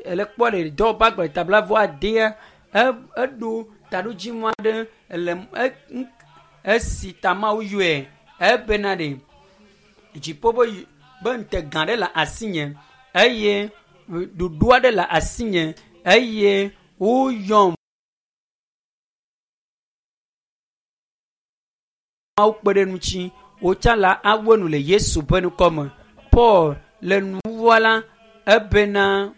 Ele kpɔ le dɔwɔƒe agbalẽ ta blaeve vɔ adea eɖo taɖodzinu aɖe le esi ta Mawu yɔe ebena ɖe dziƒo be ŋutega ɖe le asinye eye ɖoɖo aɖe le asinye eye woyɔm. Mawu kpe ɖe ŋuti wotsa la awu enu le Yesu ƒe ŋkɔ me. Paul le nuwuwua la ebena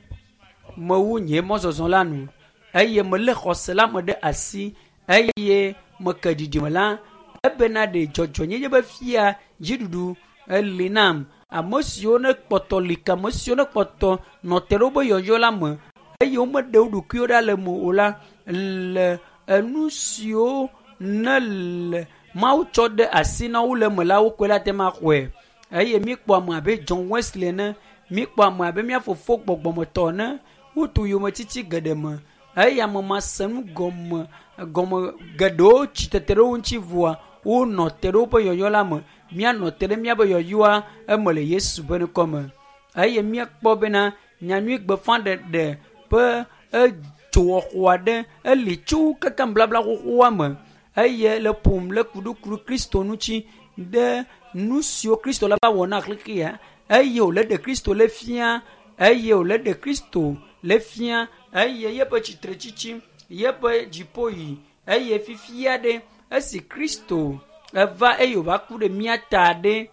mewu nye mɔzɔzɔ la nu eye melé xɔse la me ɖe asi eye meke ɖiɖime la ebena ɖe dzɔdzɔnyenye be fia dziɖuɖu eli nam ame siwo ne kpɔtɔ li ke ame siwo ne kpɔtɔ nɔ te ɖe wobe yɔyɔ la me eye womeɖe wo ɖokuiwo ɖa le me o la le enu siwo ne le Mawu tsɔ ɖe asi na wo le eme la wokoe la te ma xɔe eye míekpɔ ame abe John Wesley ene míekpɔ ame abe mía fofo gbɔgbɔmetɔ ene wotu yometiti geɖe me eye ame ma se nu gɔme gɔme geɖewo tsi tete ɖe wo ŋuti voa wonɔ te ɖe woƒe yɔyɔ la me míanɔ te ɖe míaƒe yɔyɔa eme le Yesu ƒe ŋkɔ me eye míekpɔ bena nyanyui gbeƒãɖeɖe ƒe edzowɔxɔ aɖe eli tso keke blabla xoxoa me eye le ƒom le kuɖukuru Kristo ŋuti ɖe nu siwo Kristo la va wɔ na xexea eye wòle ɖe Kristo le fia eye wòle ɖe Kristo le fia eye yeƒe tsitretsitsi yeƒe dziƒoyi eye fifia ɖe esi Kristo eva eye wòva ku ɖe mía ta ɖe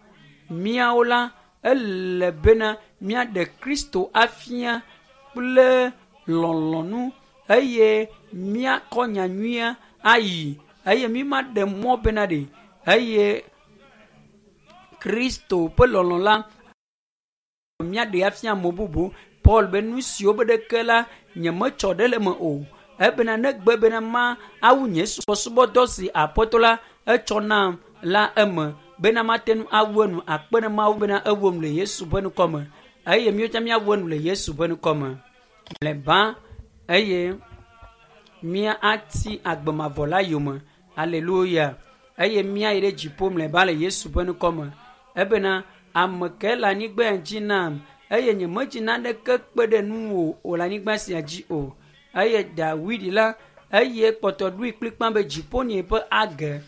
míawo la ele bena míaɖe Kristo afia kple lɔlɔ̃nu eye míakɔ nyanyuia ayi eye mímaɖe mɔ bena ɖe eye Kristo ƒe lɔlɔ̃ la míaɖe afia ame bubu. Paul be nu siwo be ɖeke la nyemetsɔ ɖe le eme o ebena negbe bena ma awu nye subɔsubɔdɔ si aƒetɔ la etsɔ nam la eme bena mate ŋu awu enu akpe ɖe Mawu bena ewu enu le Yesu ƒe ŋkɔ me eye míawo míawu enu le Yesu ƒe ŋkɔ me mlɔeba eye míati agbe mavɔ la yome aleluya eye míayi ɖe dziƒo mlɔeba le Yesu ƒe ŋkɔ me ebena ame ke le anyigba dzi nam eye nyemedzi naneke kpe ɖe nuwò o le anyigba sia dzi o eye Dawid la eye kpɔtɔ ɖoe kplikpa be dziƒo nye ƒe age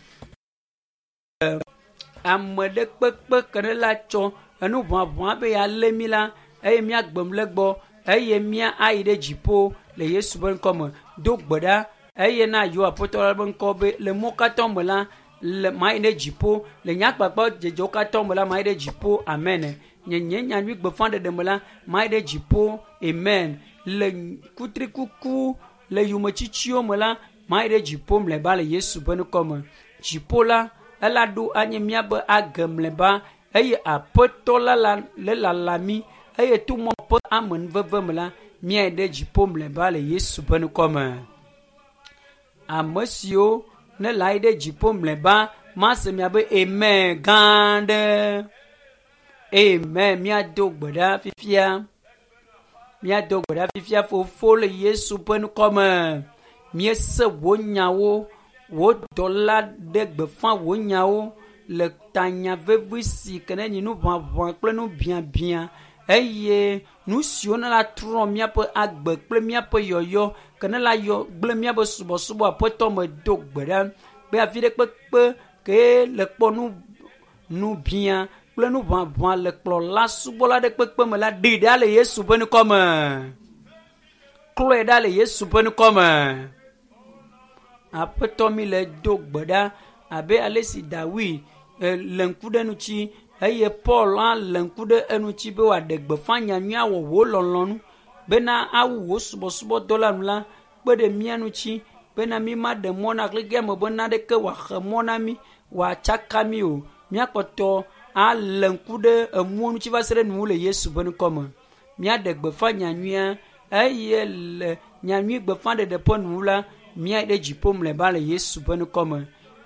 ame ɖe kpekpe ke ɖe la tsɔ enu ʋaʋã be yealé mí la eye míagbem le gbɔ eye mía ayi ɖe dziƒo le Yesu ƒe ŋkɔ me do gbe ɖa eye na yɔ aƒetɔ la ƒe ŋkɔ be le mɔ katã me la le mayi ɖe dziƒo le nye agbagba dzedzewo katã me la mayi ɖe dziƒo amen nye nye nyanyui gbeƒãɖeɖe me la mayi ɖe dziƒo amen le kutrikuku le yometsitsiwo me la mayi ɖe dziƒo mlɔeba le Yesu ƒe ŋkɔ me dziƒo la ela ɖo anye míaƒe age mlɔeba eye aƒetɔ la la le lala mí eye to mɔ ƒe amenuveve me la míayi ɖe dziƒo mlɔeba le Yesu ƒe ŋkɔ me ame siwo ne le ayi ɖe dziƒo mlɔeba mase miabe amen gã ɖe amen míado gbe ɖa fifia míado gbe ɖa fifia fofo le Yesu ƒe ŋkɔ me míese wò nyawo wò dɔla ɖe gbeƒã wò nyawo le tanya vevi si ke ne nyi nuʋaʋã kple nubiabia eye nu siwo ne la trɔ míaƒe agbe kple míaƒe yɔyɔ ke ne la yɔ gblẽ míaƒe subɔsubɔ aƒetɔ me do gbe ɖa be afi ɖe kpekpe ke le kpɔ nu nubia kple nuʋaʋã le kplɔla subɔla ɖe kpekpe me la ɖi ɖa le Yesu ƒe ŋkɔ me klɔe ɖa le Yesu ƒe ŋkɔ me aƒetɔ mi le do gbe ɖa abe ale si Dawid le ŋku ɖe ŋuti eye Paul hã le ŋku ɖe eŋuti be wòaɖe gbeƒã nyanyui awɔ wò lɔlɔ̃nu bena awu wò subɔsubɔdɔ la nu la kpe ɖe mía ŋuti bena mí maɖe mɔ na xexea me be naneke wòaxe mɔ na mí wòatsaka mí o míakpɔtɔ alé ŋku ɖe enuwo ŋuti va se ɖe nuwo le Yesu ƒe ŋkɔ me míaɖe gbeƒã nyanyuia eye le nyanyui gbeƒãɖeɖe ƒe nuwu la míayi ɖe dziƒo mlɔeba le Yesu ƒe ŋkɔ me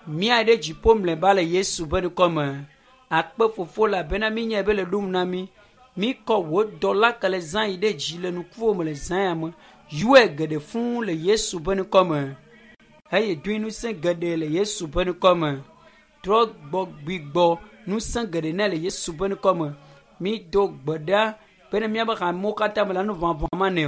míayi ɖe dziƒo mlɔeba le Yesu ƒe ŋkɔ me akpe fofo elabena míenyae be le ɖom na mí míkɔ wò dɔla ke le zã yi ɖe dzi le nukuwo me le zã ya me yɔe geɖe fũu le Yesu ƒe ŋkɔ me eye doe ŋusẽ geɖe le Yesu ƒe ŋkɔ me trɔ gbɔ gbigbɔ ŋusẽ geɖe nɛ le Yesu ƒe ŋkɔ me mído gbe ɖa bene míaƒe hamewo katã me la nu ʋaʋã ma nɛ o.